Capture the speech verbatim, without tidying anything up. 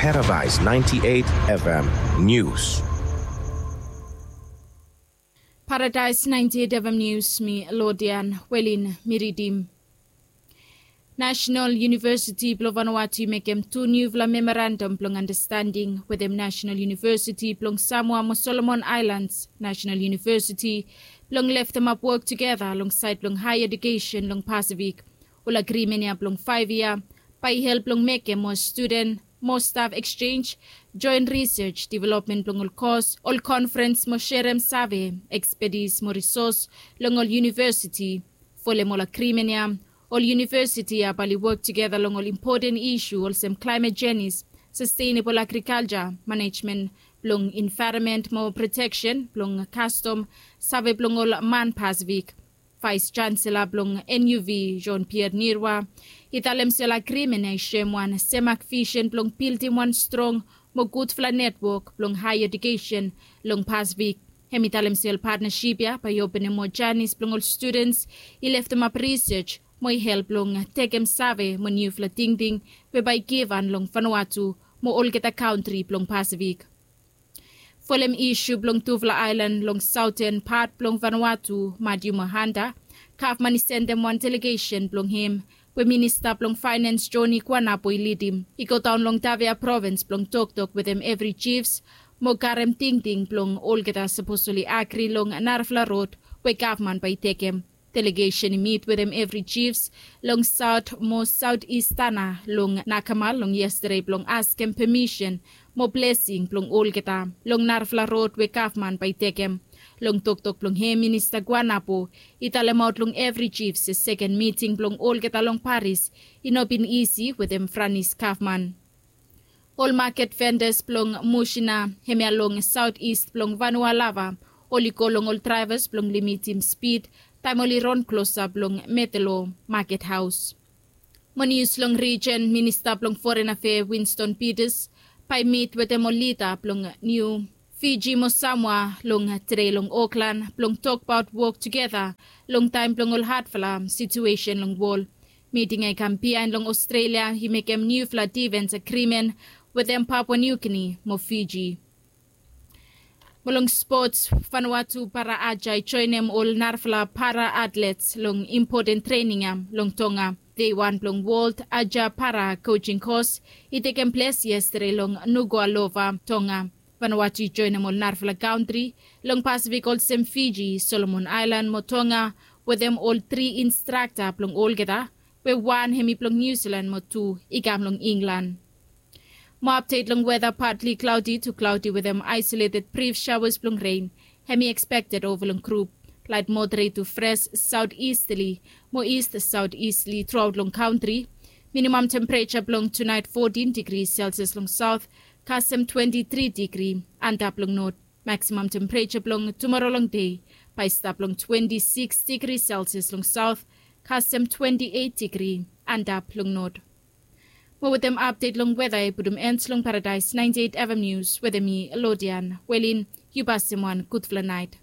Paradise ninety-eight F M News. Paradise ninety-eight F M News, mi Lodian Welin mi ridim. National University blong Vanuatu i mekem tu niufala memorandum blong understanding wetem National University blong Samoa mo Solomon Islands National University blong leftemap wok tugeta long saed blong higher education long Pasifik. Ol agrimen ya blong faef yia bae i help long mekem moa studen, moa staf eksenj, joen risej, developmen blong ol kos, ol konfrens mo serem save, ekspetis mo risos long ol univesiti. Folem ol agrimen ya, ol univesiti ya bae oli wok tugeta long ol impoten isu olsem klaemet jenis, sastenebol agrikalja, manejmen blong envaeronmen mo proteksen blong kastom, save blong ol man Pasifik. Vaes Chansela blong N U V, Jean Pierre Nirwa, i talem se ol agrimen ya i soem wan semak visen blong bildim wan strong mo gudfala netwok blong haea ejukesen long Pasifik. Hem i talem se ol patnasip ya bae i openem moa janis blong ol studens i leftemap risej mo i help long tekem save mo niufala tingting we bae i givhan long Vanuatu mo olgeta kantri blong Pasifik. Folem isu blong tufala aelan long saoten pat blong Vanuatu, Madiu mo Hanta, gavman i sendem wan delegesen blong hem we minista blong faenens Joni Guanapo i lidim i godaon long Tavea provens blong toktok wetem evri jifs mo karem tingting blong olgeta sapos oli agri long narafala rod we gavman bae i tekem. Delegesen i mit wetem evri jifs long saot mo saotis tana long Nakamal long yestade blong askem pemisen mo blesing blong olgeta long narafala rod we gavman bae i tekem. Long toktok blong hem minista Guanapo i talemaot long evri jifs se seken miting blong olgeta long paris i no bin isi wetem Franis gavman. Ol maket vendas blong Musina hemia long saotis blong Vanua Lava oli go long ol draevas blong limitim spid taem oli ron klosap long Metelo maket haos. Mo nius long rijen, minista blong foren afea Winston Peters bae i mit wetem ol lida blong Niu Fiji mo Samoa long tede long Oklan blong tokbaot wok tugeta long taem blong ol hadfala situesen long wol. Miting ya i kam biaen long Ostrelia i mekem niufala difens agrimen wetem Papua Niu Gini mo Fiji. Mo long spots, Vanuatu para aja i joenem ol narafala para atlets long impoten trening ya long Tonga. Dei wan blong Wold Aja Para Kojing Kos i tekem ples yestade long Nuku'alofa, Tonga. Vanuatu i joenem ol narafala kantri long Pasifik olsem Fiji, Solomon Aelan mo Tonga wetem ol tri instrakta blong olgeta we wan hem i blong Niu Silan mo tu i kam long Inglan. Mo apdet long weta, patli klaodi tu klaodi wetem aesoleted brif saoas blong ren hem i ekspekted ova long grup. Laet moderet tu fres saotisterli mo ist saotisterli truaot long kantri. Minimam tempereja blong tunaet fotin digri selsias long saot kasem twenti tri digri antap long not. Maksimam tempereja blong tumoro long dei bae i stap long twenti siks digri selsias long saot kasem twenti eit digri antap long not. Mo wetem apdet long weta i putum en long Paradaes naenti eit F M Nius wetem mi, Lodian Welin. Yu pasem wan gudfala naet.